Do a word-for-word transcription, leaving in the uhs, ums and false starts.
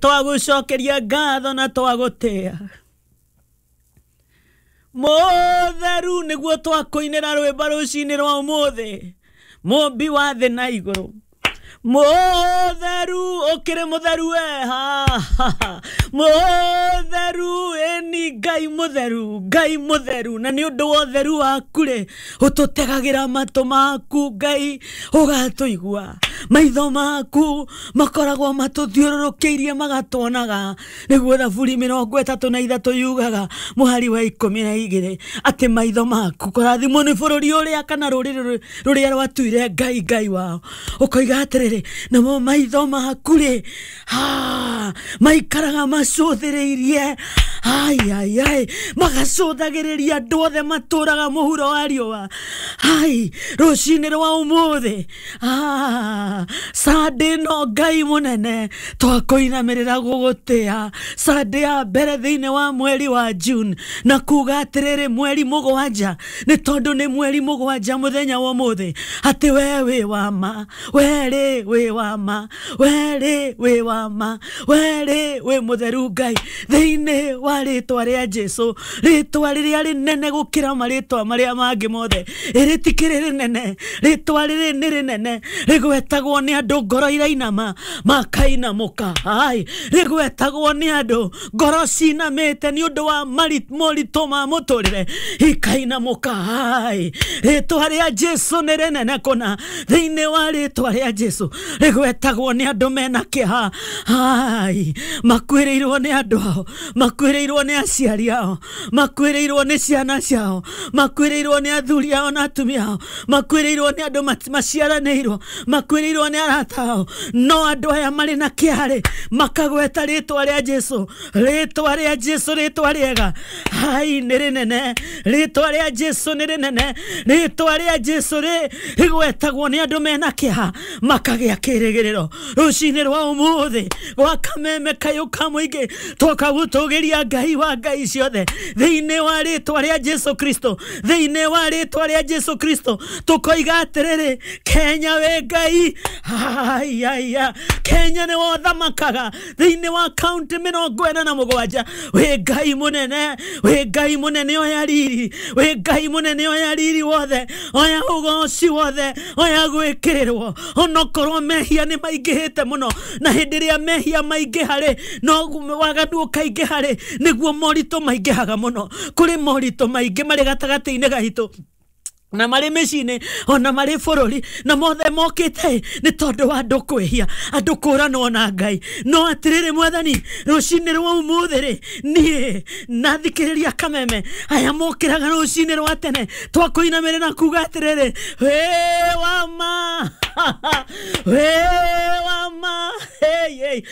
Twagũcokeria ngatho na twagũtĩa. Mũtheru nĩguo twakũinĩra rwĩmbo rũcinĩ rwa ũmũthĩ, mũmbi wa thĩ na igũrũ. Mũtheru, ũkĩrĩ mũtheru we, ha, ha, ha. Mũtheru, ĩni Ngai mũtheru, Ngai mũtheru, na nĩ ũndũ wa ũtheru waku rĩ, ũtũtegagĩra matũ maku Ngai, ũgatũigua. Maitho maku makoragwo matũthiũrũrũkĩirie magatuonaga. Nĩguo Thaburi mĩrongo ĩtatũ na ithatũ yugaga mũhari wa ikũmi na igĩrĩ atĩ maitho maku kũrathimwo nĩ bũrũri ũrĩa kana rũrĩrĩ rũrĩa rwatuire Ngai Ngai wao. Ũkoiga atĩrĩrĩ, namo maitho maku rĩ, ha, maikaraga macũthĩrĩirie, ai ai ai, magacũthagĩrĩria andũ othe matũraga mũhuro wa riũa. Ai, rũcinĩ rwa ũmũthĩ, ah, Sunday no Ngai mũnene twakũinamĩrĩra gũgũtĩa. Sunday ya mbere thĩinĩ wa mweri wa June, na kuga atĩrĩrĩ, mweri mũgwanja, nĩ tondũ nĩ mweri mũgwanja mũthenya wa ũmũthĩ, atĩ we wĩ wa ma, we rĩ wĩ wa ma, we rĩ wĩ wa ma, we rĩ wĩ mũtheru Ngai, thĩinĩ wa rĩtwa rĩa Jesu, rĩtwa rĩrĩa rĩnene gũkĩra marĩtwa marĩa mangĩ mothe. Ĩrĩtikĩrĩ rĩnene, rĩtwa rĩrĩ nĩ rĩnene, rĩgwetagwo nĩ andũ ngoro irainama makainamũka. Ai, rĩgwetagwo nĩ andũ ngoro cinamĩte nĩ ũndũ wa moritũ ma mũtũrĩre, ikainamũka. Ai, rĩtwa rĩa Jesu nĩ rĩnene kũna, thĩinĩ wa rĩtwa rĩa Jesu rĩgwetagwo nĩ andũ mena kĩeha. Ai, makuĩrĩirwo nĩ andũ ao, makuĩrĩirwo nĩ aciari ao, makuĩrĩirwo nĩ ciana ciao, makuĩrĩirwo nĩ athuri ao na atumia ao, makuĩrĩirwo nĩ andũ maciaranĩirwo, makuĩrĩirwo nĩ arata ao. No andũ aya marĩ na kĩeha rĩ, makagweta rĩtwa rĩa Jesu, rĩtwa rĩa Jesu, rĩtwa rĩega. Ai, nĩ rĩnene, rĩtwa rĩa Jesu nĩ rĩnene, rĩtwa rĩa Jesu rĩ rĩgwetagwo nĩ andũ mena kĩeha makagĩa kĩrĩgĩrĩro. Rũcinĩ rwa ũmũthĩ gwa kameme kayũ ka mũingĩ twoka gũtũgĩria Ngai wa Ngai ciothe thĩinĩ wa rĩtwa rĩa Jesu Kristo, thĩinĩ wa rĩtwa rĩa Jesu Kristo tũkoiga atĩrĩrĩ, Kenya wĩ Ngai. Ai, ai, ai. Kenya nĩ wothamakaga thĩinĩ wa kaunti mĩrongo ĩna na mũgwanja. Wĩ Ngai mũnene, wĩ Ngai mũnene, oya riri, wĩ Ngai mũnene, oya riri wothe, oya ũgoci wothe, oya gwĩkĩrĩrwo. Onokorwo mehia nĩ maingĩhĩte mũno, na hĩndĩ ĩrĩa mehia maingĩha rĩ, no waganu ũkaingĩha rĩ, nĩguo moritũ maingĩhaga mũno. Kũrĩ moritũ maingĩ marĩ gatagatĩ-inĩ gaitũ na marĩ mĩciĩ-inĩ ona marĩ bũrũri, na mothe mokĩte nĩ tondũ wa andũ kwĩhia, andũ kũranwo na Ngai. No atĩrĩrĩ Mwathani, rũcinĩ rwa ũmũthĩ rĩ, niĩ na thikĩrĩria kameme aya mokĩraga rũcinĩ rwa tene, twakũinamĩrĩra kuga atĩrĩrĩ, wĩ wa ma, wĩ wa ma, hey, hey.